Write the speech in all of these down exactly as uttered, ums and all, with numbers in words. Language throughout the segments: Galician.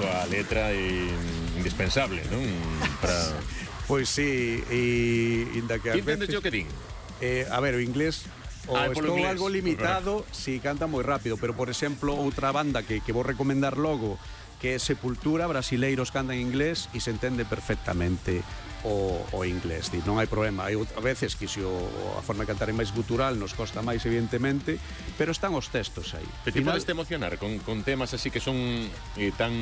súa letra é indispensable, non? Para... Pois sí, e inda que Ti entendes o que din? Eh, a ver, o inglés o ah, estou inglés. algo limitado si sí, canta moi rápido, pero por exemplo outra banda que, que vou recomendar logo, que é Sepultura, brasileiros cantan inglés e se entende perfectamente o, o inglés, di, non hai problema. Hai a veces que se o, a forma de cantar é máis gutural, nos costa máis evidentemente, pero están os textos aí. Pero ti podes te emocionar con, con temas así que son eh, tan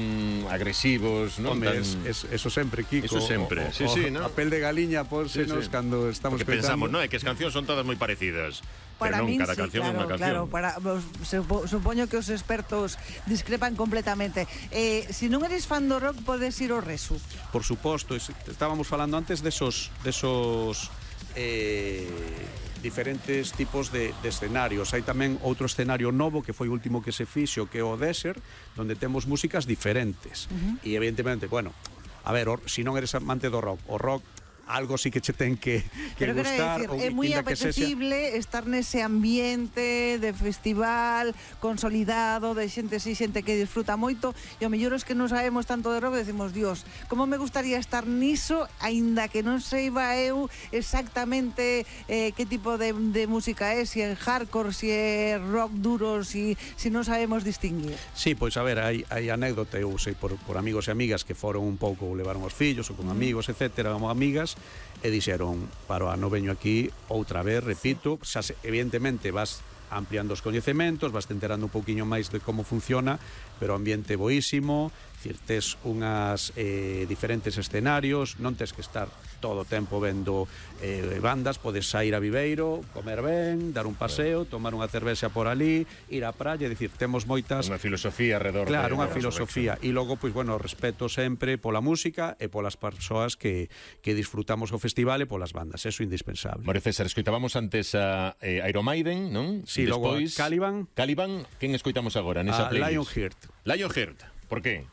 agresivos, non? Home, tan... es, es, eso sempre, Kiko. Eso sempre, o, sí, o, sí, ¿no? A pel de galiña pónsenos sí, sí. Cando estamos Porque coitando. pensamos, non? É que as cancións son todas moi parecidas. Para pero non, min, cada sí, canción claro, é unha canción. claro, para, supo, supoño que os expertos discrepan completamente. Eh, si non eres fan do rock, podes ir ao Resu. Por suposto, es, estábamos falando antes de esos, de esos eh, diferentes tipos de, de escenarios. Hai tamén outro escenario novo que foi o último que se fixo, que é o Desert, donde temos músicas diferentes. Uh -huh. E evidentemente, bueno, a ver, o, si non eres amante do rock, o rock algo sí que che ten que, que pero gustar. Decir, é moi apetecible estar nese ambiente de festival consolidado, de xente así, xente que disfruta moito, e o mellor es que non sabemos tanto de rock, decimos, Dios, como me gustaría estar niso, aínda que non seiba eu exactamente eh, que tipo de, de música é, si é hardcore, si é rock duro, si, si non sabemos distinguir. Sí, pois a ver, hai, hai anécdota, eu sei por, por amigos e amigas que foron un pouco, levaron os fillos ou con amigos, etcétera, como amigas, e dixeron, para o ano veño aquí outra vez, repito, xa se, evidentemente vas ampliando os coñecementos, vas te enterando un pouquiño máis de como funciona, pero o ambiente boísimo, dicir, tes unhas eh, diferentes escenarios, non tes que estar todo o tempo vendo eh, bandas, podes sair a Viveiro, comer ben, dar un paseo, tomar unha cervexa por ali, ir á praia, dicir, temos moitas... Unha filosofía alrededor claro, de... unha filosofía, e logo, pois, bueno, respeto sempre pola música e polas persoas que, que disfrutamos o festival e polas bandas, eso é indispensable. Mario César, escoitábamos antes a eh, Iron Maiden, non? Sí, logo Caliban. Caliban, quen escoitamos agora nesa playlist? Lionheart. Lionheart, por que?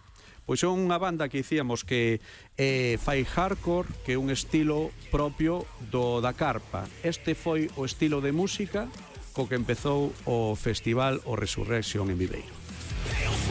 Pois é unha banda que dicíamos que eh, fai hardcore, que é un estilo propio do da carpa. Este foi o estilo de música co que empezou o festival o Resurrection en Viveiro.